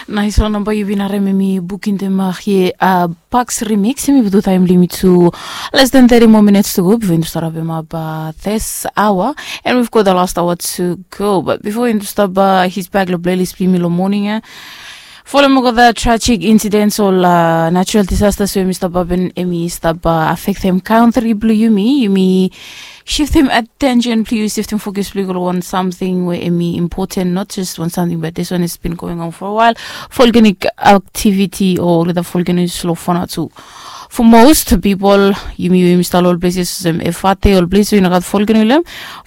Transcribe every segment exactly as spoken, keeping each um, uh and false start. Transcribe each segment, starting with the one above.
Naiswan namba yu bin harem em i bukin dem hia, Bucks Remix. Em i butu taem blong yumi tu less than thirty more minutes to go before yumi stap rapem up this hour. And we've got the last hour to go, but before yumi stap hit back long playlist blong yumi long morning ia, folem olgeta tragic incidents ol natural disasters we yumi stap hapen, em i stap affectem kantri blong yumi. Yumi shiftem attention blong yu, shiftem focus blong yu go long wan samting we em i important, not just wan samting, but this one has been going on for a while. Volcanic activity o olgeta volcanoes long Vanuatu. For most people, yumi we yumi stap long ol places olsem Efate, ol ples we i no gat volcano long hem,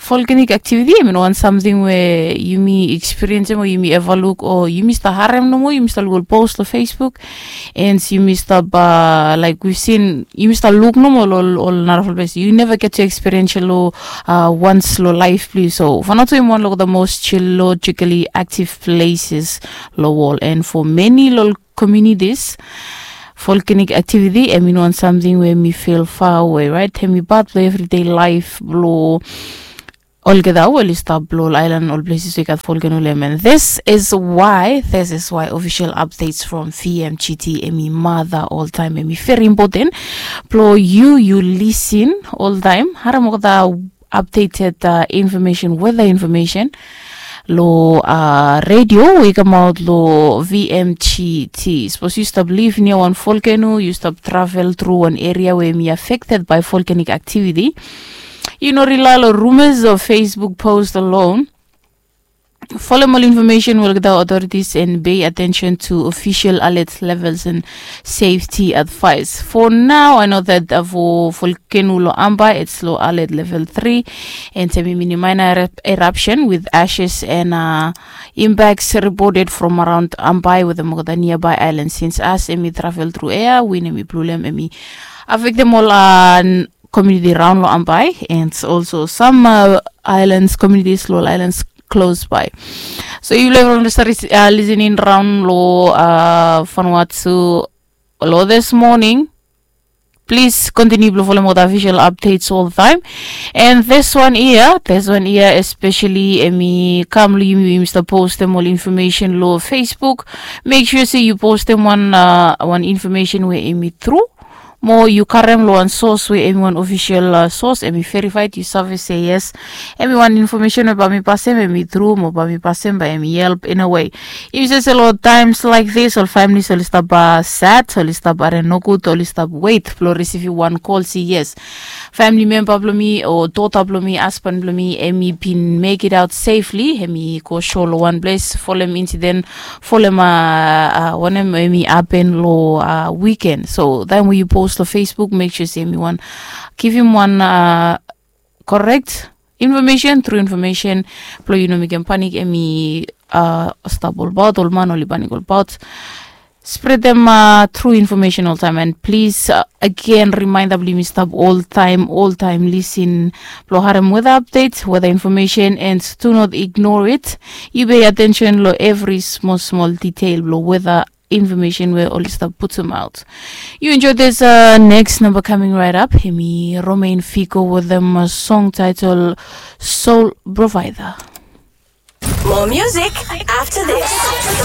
volcanic activity em i no wan samting we yumi experience o yumi eva luk o yumi stap harem nomo, yumi stap luk ol post long Facebook. And yumi stap, like, we've seen, yumi stap luk nomo long ol narafala ples. You never get to experience lo once lo life blong yu. So Vanuatu em i wan lo the most geologically active places lo wol, and for many lo communities, volcanic activity em i no wan samting we em i feel far away, right? Em i part lo everyday life lo olgeta we oli stap lo ol aelan, ol places we i gat volcano long hem. And this is why, this is why official updates from V M G T em i mata oltaem, em i very important blo yu, yu lisin oltaem, harem olgeta updated information, weather information lo radio we i kamaot lo V M G T. Sapos yu stap liv nia wan volcano, yu stap travel tru wan eria we em i affected by volcanic activity, yu no rely lo rumors o Facebook post alone. Folem ol information we olgeta authorities and pay attention to official alert levels and safety advice. For now, I know that for volcano lo Ambae, it's lo alert level three, and em i minimize eruption with ashes and impacts reported from around Ambae wetem olgeta nearby islands. Since as em i travel tru air, win em i blu long hem, em i affectem ol community raon lo Ambae and also some islands, communities lo ol islands close by. So yufala we oli stap listening raon lo Vanuatu lo this morning, please continue blo folem olgeta official updates oltaem. And this one ia, this one ia especially em i kam lo yumi we yumi stap postem ol information lo Facebook. Make sure se yu postem wan, wan information we em i tru, mo yu karem lo wan source we em i wan official source, em i verified, yu save se yes, em i wan information we bae mi pasem em i tru, mo bae mi pasem bae em i help in a way. Yu save se lo times like this ol families oli stap sad, oli stap harim nogud, oli stap wet blo risivim wan call se yes, family member blo mi o dota blo mi, hasban blo mi, em i bin make it out safely, em i go sho lo wan ples, folem incident, folem wanem em i hapen lo weekend. So taem we yu post lo Facebook, make sure se em i wan givim wan correct information, tru information, blo yu no mekem panik. Em i stap olbaot, ol man oli panik olbaot. Spredem tru information oltaem, and please, again, reminder blo yumi stap oltaem, oltaem lisin blo harem weather update, weather information, and do not ignore it. Yu pay attention lo evri smol smol detail blo weather information we oli stap putumaot. Yu enjoy this next number coming right up. Em i Romain Figo wetem song title Soul Provider. More music after this.